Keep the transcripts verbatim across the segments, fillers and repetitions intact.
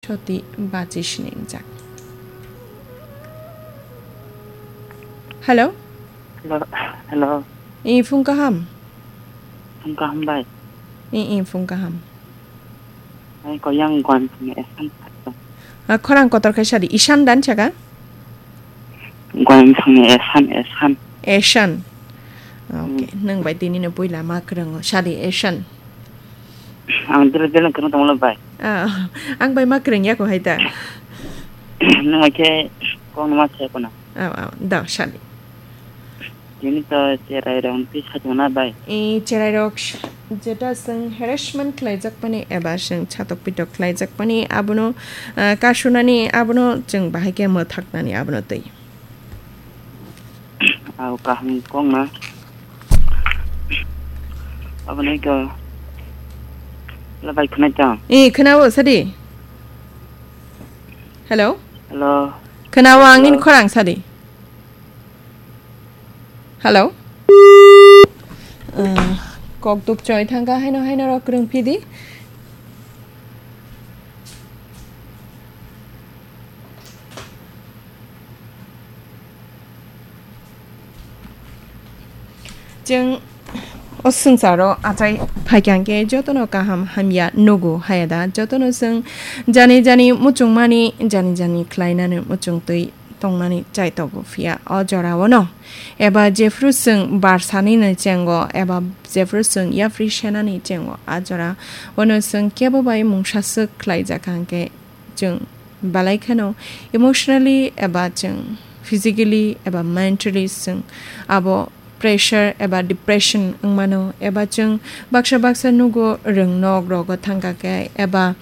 Toti bachi sini wngjak. Hello? Hello, hello. I phung kaham? Phung kaham bai. I, i phung kaham. Ai ko yang Guam phung ni Esan khato. Ah, khorang kotor khai sadi, Ishan dan chaka? Guam phung ni Esan, Esan. Esan. Okay, hmm. Nang bai tini no puila ma kwrwngo sadi Esan. Ang dere dere kwrwng tonglo bai. Ah, ang bai ma kwrwng yako hai ta. Nang bai khe kong ma khe kono. Ah, ah, da sadi. Tini to cherai rong pi khatung na bai. E cherai rok sh-, jeta seng harassment khlai jak pani eba seng chatok pitok khlai jak pani abono, ah, kasunani abono cheng bahai khe mwthak nani abono tei. Au kaham kong na. Abo nai ko. La bai khwnai ta. E khwnao sadi. Hello? Hello. Khwnao ang nin Hello. Khorang sadi. Hello? Uh, kok duk choi thangka haino haino rok rung phidi. Chwng o swngcharo achai phaikha hwnkhe jotono kaham hamya nugo hayada, jotono chwng jani jani muchungmani, jani jani khlainani muchungtwi tongnani chaitogo, phiya o jorao no eba jephru chwng barsani ni chengo eba jephru chwng yapri senani chengo, a jora ono chwng kebo bai mungsa swk khlaijak hwnkhe chwng belai kheno emotionally eba chwng physically eba mentally chwng abo pressure eba depression wngmano, eba chwng baksa baksa nugo rwng nok rogo thangka khe, eba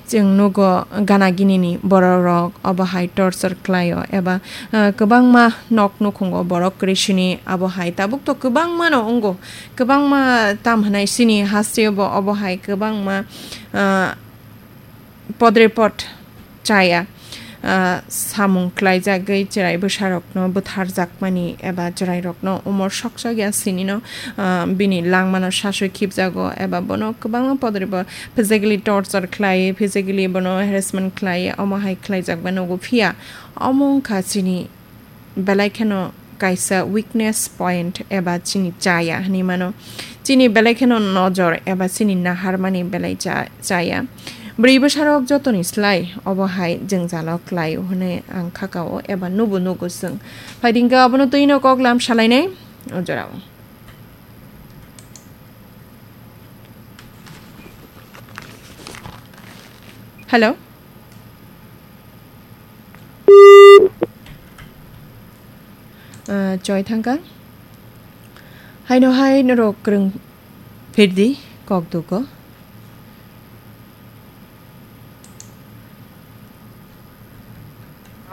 chwng nugo gana gini ni borok rok obo hai torture khlaio, eba, ah, kwbangma nok nukhungo borok kwrwi sini abo hai tabuk to kwbangma no wngo, kwbangma tam hwnai chini hasteo bo obo hai kwbangma, ah, podrepot chaya, ah, samung klaijagwi chwrai bwsarokno bwtharjakmani eba chwrairokno umor sokchak ya sinino, ah, bini langmano saswi khibjago eba bono kwbangma podrepot physically torture khlai, physically bono harassment khlai, omo hai khlaijak bai nugo, phiya omo wngkha chini belai kheno kaisa weakness point eba chini chaya hinwi mano. Chini belai kheno nojor eba chini naharmani belai cha-, chaya. Bwrwi bwsarok jotoni slai obo hai jwngjalo klai hwnwi ang khakao eba nubo nugo chwng. Phaidingkhe abono twino kok lam salainai o jorao. Hello? Ah, choi thangka. Haino hai norok kwrwng phirdi kok dugo.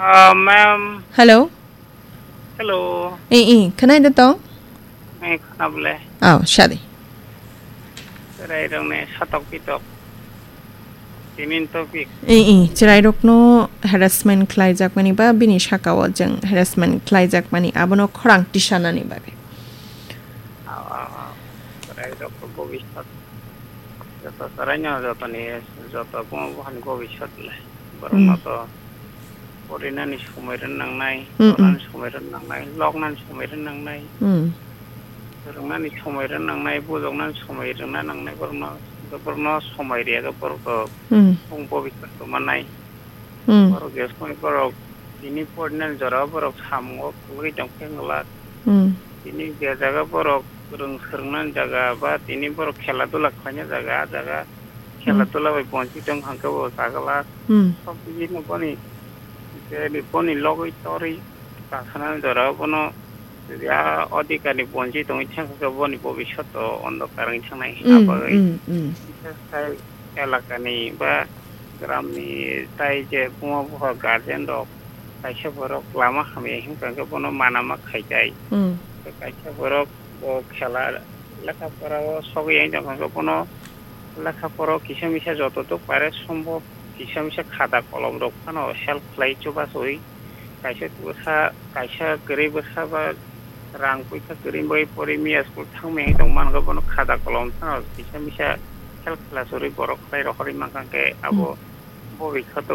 Ah, ma'am. Hello. Hello. Eh, eh, khwnai da tong? Eh, khwnabole. Oh, sadi. Chwrai rokni satok pitok. Tinin topic. Eh, eh, chwrai rokno harassment khlai jakmani ba bini sakao jeng harassment khlai jakmani abono khorang tisanani bagwi. Ah, ah, ah. Chwrai rok bobiswt. Joto chwraino jotoni, joto buma buphani bobiswt le. Borokno Hmm. to porinani somoi rwna nangnai, Hmm, hmm. tonani somoi rwna nangnai, loknani somoi rwna nangnai, Hmm. rwngnani somoi rwna nangnai, bujoknani somoi rwna nangnai, borokno, borokno somoi riya khe borok to Hmm. bung bobiswt tongmannai. Hmm. Borok je somoi borok tini porinani jorao borok samungo phulwi tongkhe wngla. Hmm. Tini je jaga borok rwng swrwngnani jaga ba tini borok khela dula khlaina jaga, a jaga khela Hmm. dula bai bonchi tong hwnkhe bo chagala. Hmm. Sob bini boni je boni logwi torwi kasanani jorao bono ya odhikar ni bonchi tongwi thangkhe boni bobiswt o ondhokar wngwi thangnai. Hmm, Abagwi hmm, hmm. Elakani ba gramni tai je buma bupha guardian rok kaisa borok lama hamya hinkha khe bono mana ma khaitai. Hmm. Kaisa borok bo khela lekha pora o sogwi yang tongkha khe bono lekha pora o kisa misa joto duk pare sombhob kisa misa khata kolom rok phano help khlai chubachu wi. Kaisa bwsa, kaisa kwrwi bwsa ba rang puisa kwrwi bai pori miya school thangmani tong mankha bono khata kolom phano kisa misa help khlai churwi borok khlai rohorwi mankha khe abo Hmm. bo bai kha to